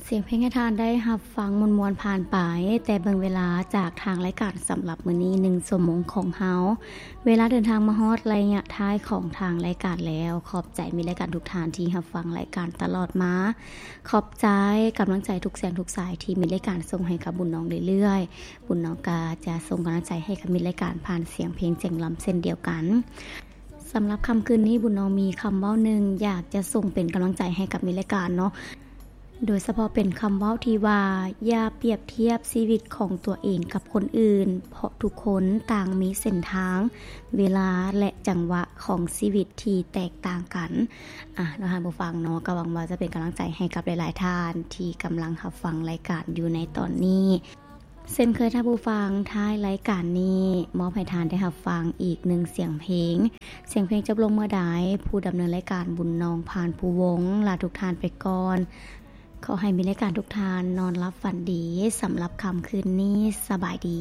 ສຽງເພງໃຫ້ທ່ານໄດ້ຮັບຟັງມ່ວນໆຜ່ານໄປ, ແຕ່ເບິ່ງເວລາຈາກທາງລາຍການສຳລັບມື້ນີ້ ໜຶ່ງຊົ່ວໂມງຂອງເຮົາ ເວລາເດີນທາງມາຮອດໄລຍະທ້າຍຂອງທາງລາຍການແລ້ວ. ຂອບໃຈມິດລາຍການທຸກທ່ານທີ່ຮັບຟັງລາຍການຕະຫຼອດມາ. ຂອບໃຈກຳລັງໃຈທຸກສຽງທຸກສາຍທີ່ມິດລາຍການສົ່ງໃຫ້ກັບບຸນນ້ອງເລື້ອຍໆ. ບຸນນ້ອງກໍຈະສົ່ງກຳລັງໃຈໃຫ້ກັບມິດລາຍການຜ່ານສຽງເພງສຽງລຳເຊັ່ນດຽວກັນ. ສຳລັບຄ່ຳຄືນນີ້ ບຸນນ້ອງມີຄຳເວົ້າໜຶ່ງຢາກຈະສົ່ງເປັນກຳລັງໃຈໃຫ້ກັບມິດລາຍການເນາະ, ໂດຍສະເພາະເປັນຄຳເວົ້າທີ່ວ່າ ຢ່າປຽບທຽບຊີວິດຂອງຕົວເອງກັບຄົນອື່ນ, ເພາະທຸກຄົນຕ່າງມີເສັ້ນທາງ, ເວລາ ແລະ ຈັງຫວະຂອງຊີວິດທີ່ແຕກຕ່າງກັນ. ອ່ະ ເນາະ ທ່ານຜູ້ຟັງເນາະ, ກໍຫວັງວ່າຈະເປັນກຳລັງໃຈໃຫ້ກັບຫຼາຍໆທ່ານທີ່ກຳລັງຮັບຟັງລາຍການຢູ່ໃນຕອນນີ້. ເຊັ່ນເຄີຍທ່ານຜູ້ຟັງ, ທ້າຍລາຍການນີ້ ມອບໃຫ້ທ່ານໄດ້ຮັບຟັງອີກໜຶ່ງສຽງເພງ. ສຽງເພງຈົບລົງເມື່ອໃດ, ຜູ້ດຳເນີນລາຍການບຸນນ້ອງ ພານພູວົງ ລາທຸກທ່ານໄປກ່ອນ. ຂໍໃຫ້ມິດລາຍການທຸກທ່ານນອນຫຼັບຝັນດີ. ສຳລັບຄ່ຳຄືນນີ້, ສະບາຍດີ.